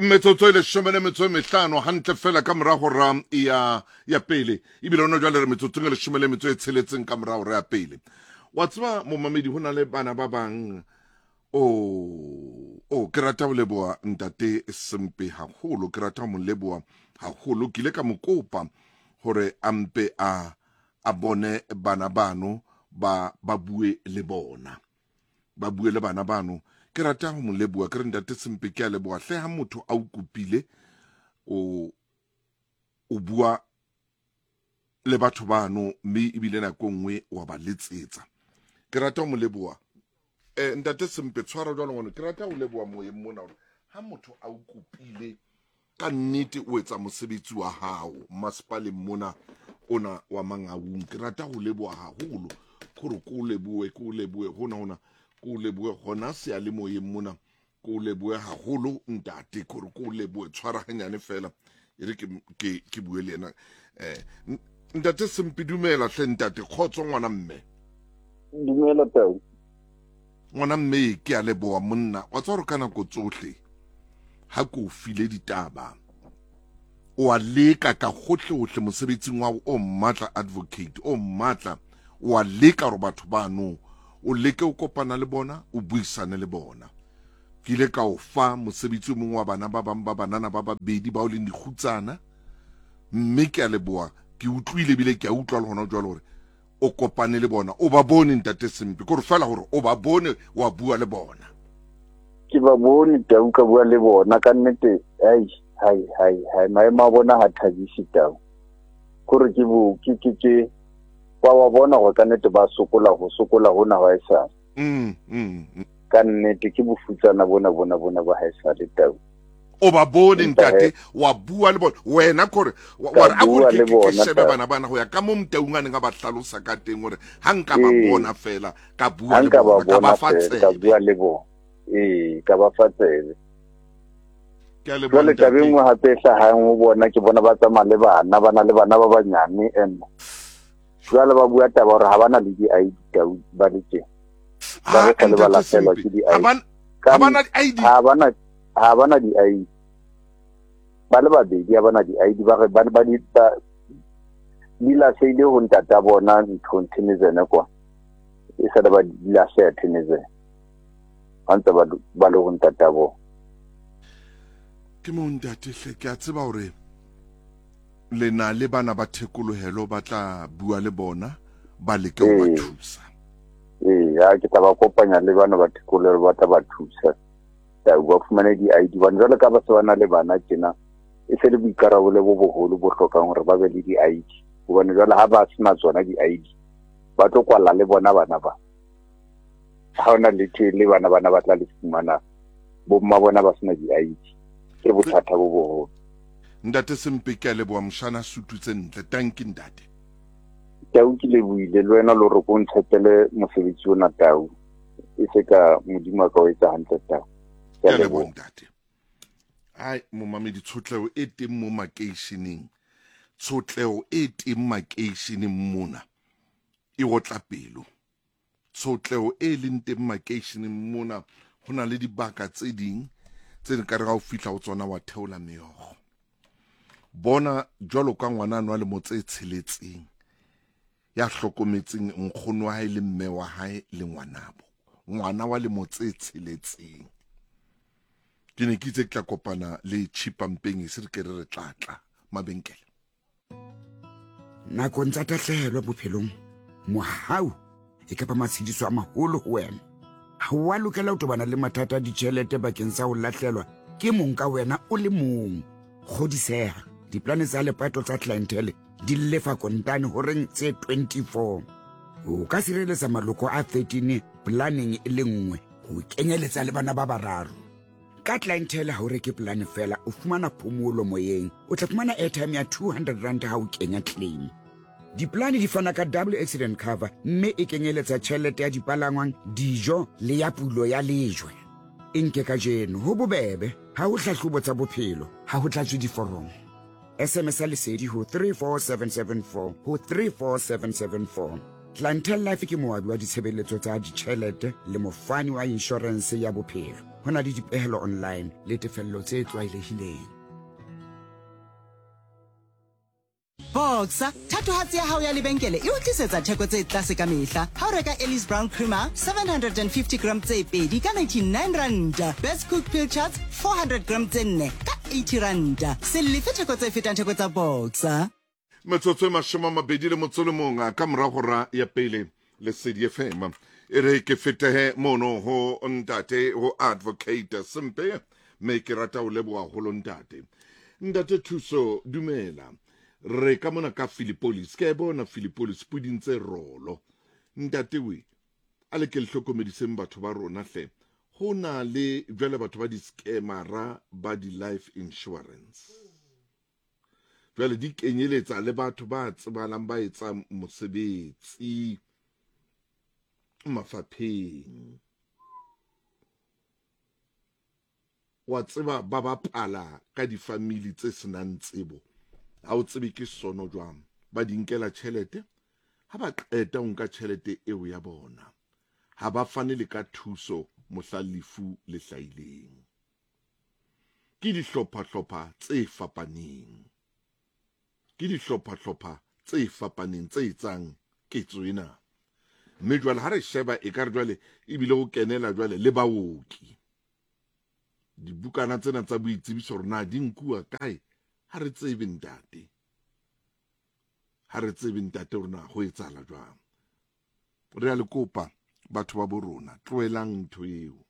Metsotso e leshome le metso e mehlano hantle fela ka mora hora ya ya pele, ebile hona jwale re metsotsong e leshome le metso e tsheletseng ka mora hora ya pele. Wa tseba momamedi, ho na le bana ba bang o o ke rata ho leboha ntate Sempe haholo, ke rata ho mo leboha haholo. Ke ile ka mo kopa hore a mpe a a bone bana bano ba ba bue le bona. Ba bue le bana bano. Ke rata ho mo leboha, ke re ntate Sempe ke a leboha hle ha motho a o kopile o o bua le batho bano mme ebile nako e nngwe wa ba letsetsa. Ke rata ho mo leboha. Eh, ntate Sempe tshwara jwalo ngwana, ke rata ho leboha moyeng mona hore ha motho a o kopile ka nnete o etsa mosebetsi wa hao masepaleng mona ona wa Mangaung. Ke rata ho leboha haholo kore ko o lebohe, ko o lebohe hona hona, ko o lebohe hona seyalemoyeng mona, ko o lebohe haholo ntate, kore ko o lebohe. Tshwara hanyane fela e re ke ke ke bue le yena. Eh, ntate Sempe, dumela hle ntate. Kgotso ngwana mme. Dumela tau. Ngwana mme, ke a leboha monna. Wa tseba hore ka nako tsohle ha ke o file ditaba o a leka ka hohle hohle mosebetsing wa o matla, advocate o matla, o a leka hore batho bano o leke o kopana le bona, o buisane le bona. Ke ile ka o fa mosebetsi o mongwe wa bana ba bang ba banana ba babedi bao leng dikgutsana, mme ke a leboha, ke utlwile ebile ke a utlwa le hona jwale hore o kopane le bona, o ba bone ntate Sempe, kore fela gore o ba bone wa bua le bona. Ke ba bone tau, ka bua le bona ka nnete. Ai hai hai hai, maemo a bona ha thabise tau, kore ke bo ke ke ke wa wa bona gore ka nnete ba sokola, ho sokola hona ha esale. Ka nnete ke bofutsana bona bona bona ba haesale tau. O ba bone ntate, wa bua le bona wena, kore wa re a bua kore le ke ke bona shebe tau. Bana bana go ya ka mo Motaung a neng a ba hlalosa ka teng, gore ha nka ba bona fela ka bua Ha le nka ba bona, ka ba bona fa fela ka tsebe. Bua le bona, ee, ka ba fa tsebe. Ke a leboha Jwale taba e ntate. nngwe gape e hlahang ho bona, ke bona ba tsamaya le bana, ba na le bana ba banyane, and jwale ba bua taba gore ga ba na le di-ID tau, ba le teng ba Ah, re sale ba ntate lahlehelwa Sempe ke ha di-ID. ba ha ba na di-ID. Ha ba na di-ID, ba le babedi ha ba na di-ID. Ba re ba di ba di lahlehile ho ntata bona nthong Theunissen kwa, e sale ba di lahleha Theunissen ba ntse ba le ho ntata bona. Ke mo ntate hle, ke a tseba hore le na le bana ba thekolohelo, ba tla bua le bona, ba leke ho ba thusa. Ee, ha ke tla ba kopanya le bana ba thekolohelo, ba tla ba thusa tau, ba fumane di-ID, bane jwale ka ba se ba na le bana tjena, e se le boikarabelo bo boholo bo hlokang hore ba be le di-ID, hobane jwale ha ba sena tsona di-ID ba tlo kwalla le bona bana ba, ha hona letho le bana bana ba tla le fumana bomma bona ba sena di-ID, ke bothata bo boholo. Ntate Sempe, ke a leboha moshana, sutu tse ntle, tanki ntate. Tau, ke lebohile le wena le hore ko ntshepele mosebetsi ona tau, e se ka Modimo a ka o etsa hantle tau. Ke a leboha ntate. Ai momamedi, tshotleho e teng mo makeisheneng, tshotleho e teng makeisheneng mona e otla pelo. Tshotleho e leng teng makeisheneng mona, ho na le dibaka tse ding tse ka re ha o fihla ho tsona wa theola meokgo. Bona jwalo ka ngwana a nwa lemo tse tsheletseng ya hlokometseng nkgono wa hae le mme wa hae le ngwanabo, ngwana wa lemo tse tsheletseng. Ke ne ke itse ke tla kopana le Chipampeng, e se re ke re re tlatla mabenkele. Nakong tsa tahlehelo bophelong, mohau e ka ba matshediso a maholo ho wena. Ha o a lokela ho tobana le mathata a ditjhelete bakeng sa ho lahlelwa ke mong ka wena o le mong. Kgodiseha, diplane tsa lepato tsa Clientele di lefa kontane horeng tse 24. O ka sireletsa maloko a 13 planeng e le nngwe, ho kenyeletsa le bana ba bararo. Ka Clientele ha o reke polane fela, o fumana phomolo moyeng. O tla fumana airtime ya 200 rand ha o kenya claim. Diplane di fana ka double accident cover mme e kenyeletsa tjhelete ya dipalangwang, dijo le ya pulo ya lejwe. E nke kajeno, ho bobebe, ha ho hlahlobo tsa bophelo, ha ho tlatswe diforomo. SMS ya Lesedi ho 34774 ho 34774. Clientele Life ke moabi wa ditshebeletso tsa ditjhelete le mofani wa inshorense ya bophelo. Ho na le dipehelo online le tefello tse tlwaelehileng. Boxer, thatohatsi ya hao ya lebenkele e o tlisetsa theko tse tlase ka mehla. Ha o reka Ellis Brown Creamer 750 gram tse pedi ka 99 ranta, Best Cook Pilchards 400 gram tse nne ka 80 ranta. Se lefe theko tse fetang theko tsa Boxer. Metsotso e mashome a mabedi le motso le mong ka mora hora ya pele Lesedi FM. E re ke fetehe mono ho ntate ho Advocate Sempe me ke rata ho leboha holo ntate. Ntate Thuso dumela. Re ka mona ka Philippolis. Ke a e bona Philippolis puding tse rolo. Ntate we a le ke le hlokomediseng batho ba rona hle. Ho na le jwale batho ba di-scamera ba di-life insurance. Jwale di kenyeletsa le batho ba tsebalang ba etsang mosebetsi mafapheng. Wa tseba ba bapala ka difamili tse senang tsebo. Ha o tsebe ke sono jwang. Ba di nkela tjhelete. Ha ba qeta ho nka tjhelete eo ya bona, ha ba fane le ka thuso mohla lefu le hlahileng. Ke dihlopha-hlopha tse fapaneng. Ke dihlopha-hlopha tse fapaneng tse etsang ketso ena. Mme jwale ha re sheba ekare jwale ebile ho kenela jwale le baoki. Dibukana tsena tsa boitsebiso hore na di nkuwa kae, ha re tsebe ntate. Ha re tsebe ntate hore na ho etsahala jwang. Re a le kopa batho ba bo rona, tlohelang ntho eo.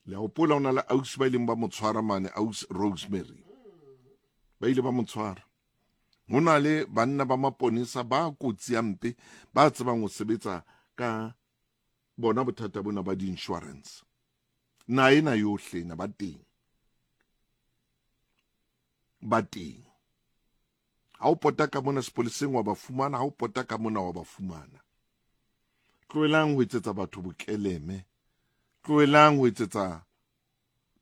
Le a hopola ho na le ausi ba ileng ba mo tshwara mane, ausi Rosemary. Ba ile ba mo tshwara. Ho na le banna ba maponesa ba kotsi ya mpe ba tsebang ho sebetsa ka bona bothata bona ba di-insurance. Na ena yohle ena ba teng. Ba teng. Ha o pota ka mona sepoleseng wa ba fumana, ha o pota ka mona wa ba fumana. Tlohelang ho etsetsa batho bokeleme. Tlohelang ho etsetsa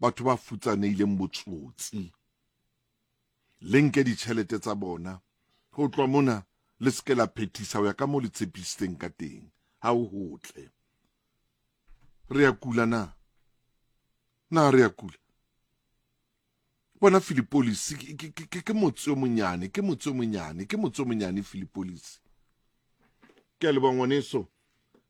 batho ba futsanehileng botsotsi. Le nke ditjhelete tsa bona. Ho tloha mona le se ke la phethisa ho ya ka moo le tshepisitseng ka teng. Ha ho hotle. Re ya kula na? Na re ya kula? Bona Philippolis ke motse o monyane, ke motse o monyane, ke motse o monyane Philippolis. Ke a leboha ngwaneso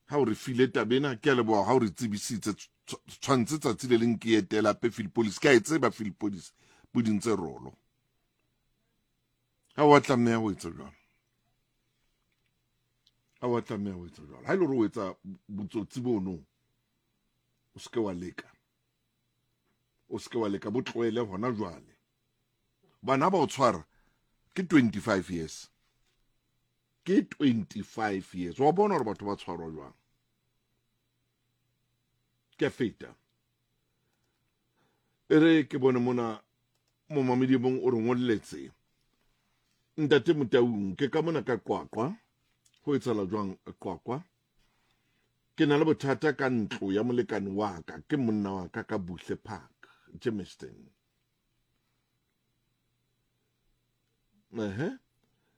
ha o re file taba ena, ke a leboha ha o re tsebisitse. Tshwantse tsatsi le leng ke etela hape Philippolis, ke a e tseba Philippolis, puding tse rolo. Ha wa tlameha ho etsa jwalo. Ha wa tlameha ho etsa jwalo. Ha e le hore o etsa botsotsi bono, o se ke wa leka. O se ke wa leka, bo tlohele hona jwale. Bana ba o tshwara ke 25 years. Ke 25 years. Wa bona hore batho ba tshwarwa jwang. Ke feta. E re ke bone mona momamedi mong o re ngolletse. Ntate Motaung, ke ka mona ka Qwaqwa. Ho etsahala jwang Qwaqwa? Ke na le bothata ka ntlo ya molekane wa ka, ke monna wa ka ka Buhle Park, Germiston. Ehe.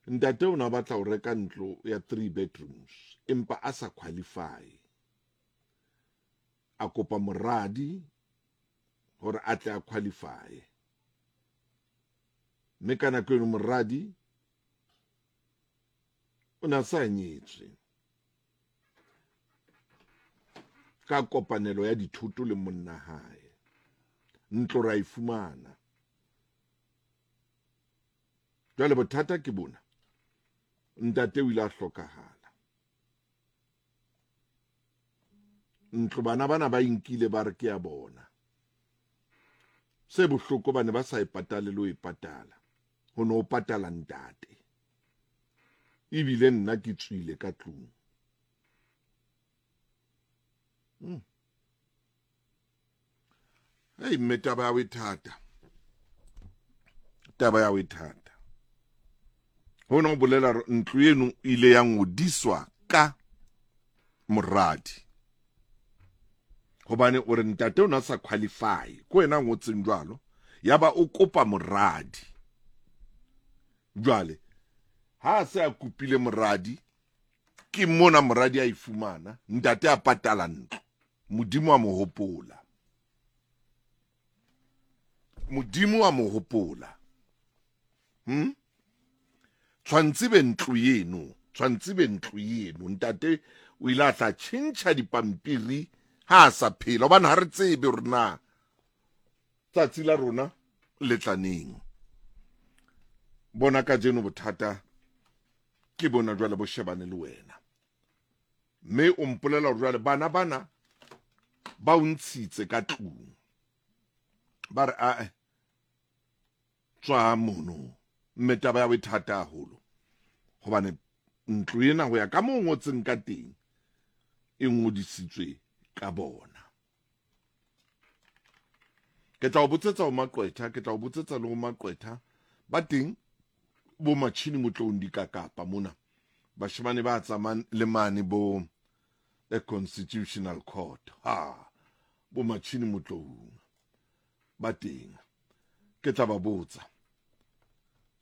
Ntate o ne a batla ho reka ntlo ya 3 bedrooms empa a sa qualify. A kopa moradi hore a tle a qualify. Mme ka nako eno moradi o ne a sa nyetswe. Ka kopanelo ya dithoto le monna hae. Ntlo ra e fumana. Jwale bothata ke bona. Ntate o ile a hlokahala. Ntlo bana bana ba inkile ba re ke ya bona. Se bohloko ba ne ba sa e patale le ho e patala. Ho ne ho patala ntate. Ebile nna ke tswile ka tlung. Hey, mme taba ya ho e thata. Taba ya ho e thata. Hona ho bolela hore ntlo eno ile ya ngodiswa ka moradi. Hobane o re ntate o na sa qualify. Ke wena a ngotseng jwalo. Yaba o kopa moradi. Jwale ha a se a kopile moradi, ke mona moradi a e fumana, ntate a patala ntlo. Modimo a mo hopola. Modimo a mo hopola. Hm? Tshwantse be ntlo eno, tshwantse be ntlo eno. Ntate o ile a tla tjhentjha dipampiri ha a sa phela hobane ha re tsebe hore na tsatsi la rona le tla neng. Bona kajeno bothata ke bona jwale bo shebane le wena. Mme o mpolela hore jwale bana bana ba o ntshitse ka tlung. Ba re ae tswa mono. Mme taba ya ho e thata haholo. Hobane ntlo ena ho ya ka moo ngotseng ka teng e ngodisitswe ka bona. Ke tla o botsetsa ho maqwetha, ke tla o botsetsa le ho maqwetha ba teng bo Machini Motloung dikakapa mona. Bashemane ba tsamayang le mane bo the Constitutional Court. Ha bo Machini Motloung ba teng. Ke tla ba botsa.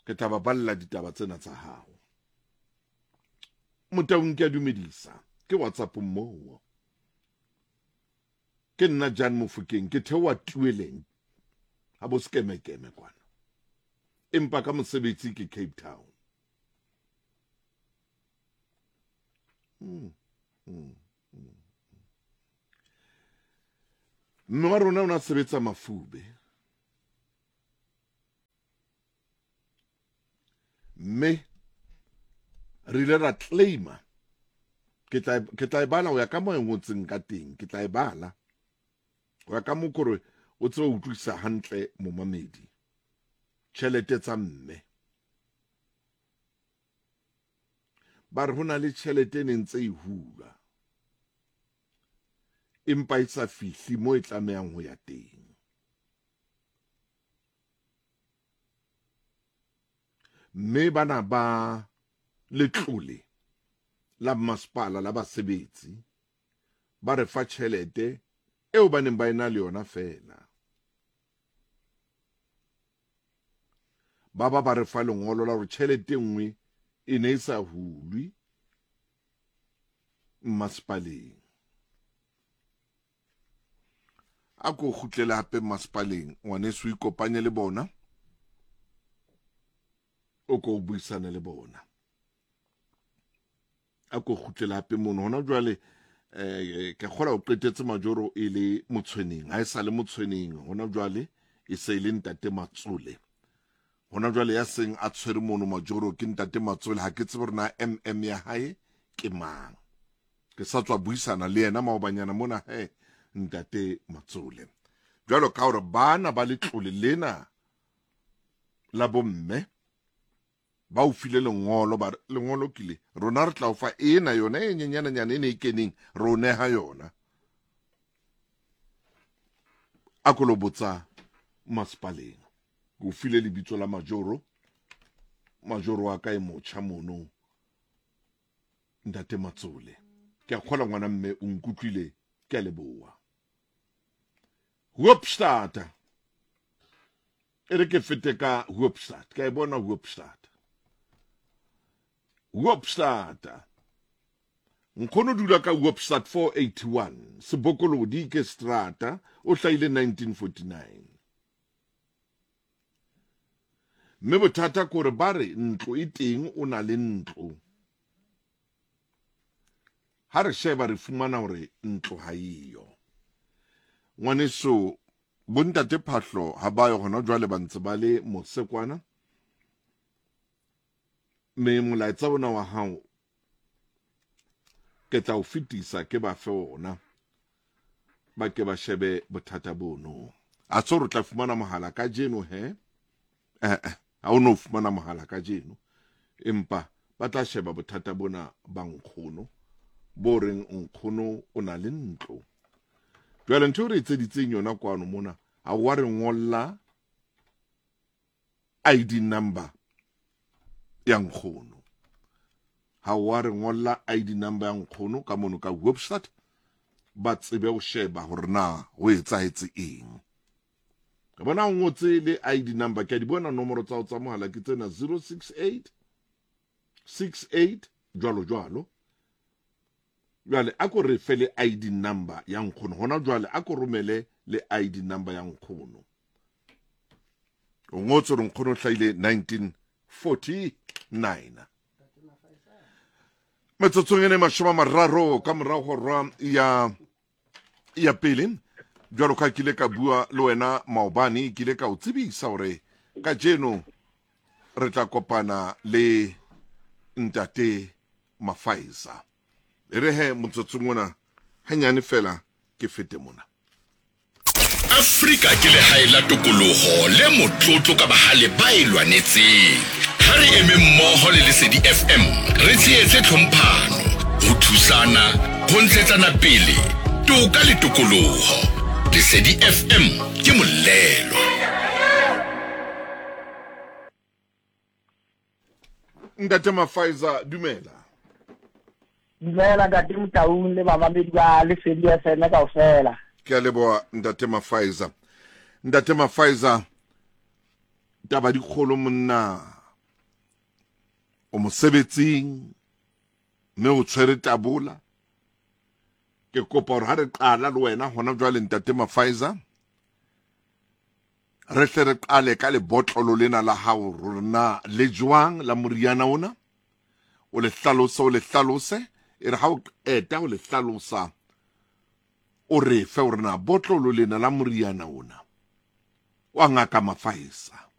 Ke tla ba balla ditaba tsena tsa hao. Motaung ke a dumedisa. Ke WhatsApp moo. Ke nna Jan Mofokeng, ke theoha Tueleng ha bo Sekemekeme kwana. Empa ka mosebetsi ke Cape Town. Mm. Mm. Mm. Mme wa rona o ne a sebetsa Mafube. Mme re ile ra claima ke tla ke tla e bala ho ya ka mo e ngotseng ka teng ke tla e bala ho ya ka mo kore o tsebe ho utlwisisa hantle momamedi tjhelete tsa mme ba re ho na le tjhelete e neng tse e hulwa empa e sa fihli mo e tlamehang ho ya teng. Mme bana ba letlole la mmasepala la basebetsi ba re fa tjhelete eo ba neng ba ena le yona feela. Ba ba ba re fa lengolo la hore tjhelete e nngwe e ne e sa hulwe mmasepaleng. A ko kgutlele hape mmasepaleng ngwaneso, o ikopanye le bona, o ko o buisane le bona. A ko kgutlele hape mono hona jwale. Eh, ke kgola o qetetse Majoro e le Motshweneng, ha e sa le Motshweneng hona jwale, e se e le ntate Matsole hona jwale. Ya seng a tshwere mono Majoro ke ntate Matsole. Ha ke tsebe hore na mm ya hae ke mang. Ke sa tswa buisana le yena maobanyana mona he ntate Matsole. Jwalo ka hore bana ba letlole lena la bomme ba o file lengolo, ba lengolo kile rona re tla o fa ena yona e nyenyananyana e ne e keneng, re o neha yona. A ko lo botsa masepaleng. Ke o file lebitso la Majoro, Majoro wa ka e motjha mono ntate Matsole. Ke a kgola ngwana mme o nkutlwile, ke a leboha. Hoopstad, e re ke fete ka Hoopstad, ka e bona Hoopstad. Hoopstad, nkgono dula ka Hoopstad 481 Sebokolodi ke strata, o hlahile 1949. Mme bothata ke hore ba re ntlo e teng, o na le ntlo. Ha re sheba re fumana hore ntlo ha eyo. Ngwaneso, bontate Phahlo ha ba yo hona jwale, ba ntse ba le mose kwana. Mme molaetsa ona wa hao ke tla o fetisa ke ba fe ona, ba ke ba shebe bothata bono. A se re tla fumana mohala kajeno he? Eh, ha o no fumana mohala kajeno, empa ba tla sheba bothata bona ba nkgono bo reng nkgono o na le ntlo. Jwale ntho e re etseditseng yona kwano mona, ha wa re ngolla ID number ya nkgono, ha wa re ngolla ID number ya nkgono ka mono ka website, ba tsebe ho sheba hore na ho etsahetse eng. Ke bona o ngotse le ID number, ke a di bona nomoro tsa ho tsa mohala ke tsena 068 68 jwalo jwalo. Jwale a ko re fe le ID number ya nkgono hona jwale, a ko romele le ID number ya nkgono. O ngotse gore nkgono o hlahile 1949. Metsotsong e ne 30 ka morago hora ya ya pele, jwalo ka ke ile ka bua le wena maobane, ke ile ka o tsebisa gore kajeno re tla kopana le ntate Mafaisa. E re he motsotsong ona hanyane fela ke fete mona. Afrika ke legae la tokologo le motlotlo ka bagale ba e lwanetseng. Ga re eme mmogo le Lesedi FM re tsheetse tlhomphano, go thusana, go ntshetsana pele, toka le tokologo. Lesedi FM ke molelo. Ntate Mafaiza, dumela. Dumela Ntate Motaung le bamamedi ba Lesedi FM kaofela. Ke a leboha Ntate Mafaiza. Ntate Mafaiza, taba di kgolo monna, o mosebetsing mme o tshwere tabola. Ke kopa hore ha re qala le wena hona jwale Ntate Mafaiza, Re hle re qale ka lebotlolo lena la hao rore na le jwang la moriana ona. O le hlalose, o le hlalose. E re ha o qeta o le hlalosa, o re fe hore na botlolo lena la moriana ona wa Ngaka Mafaesa.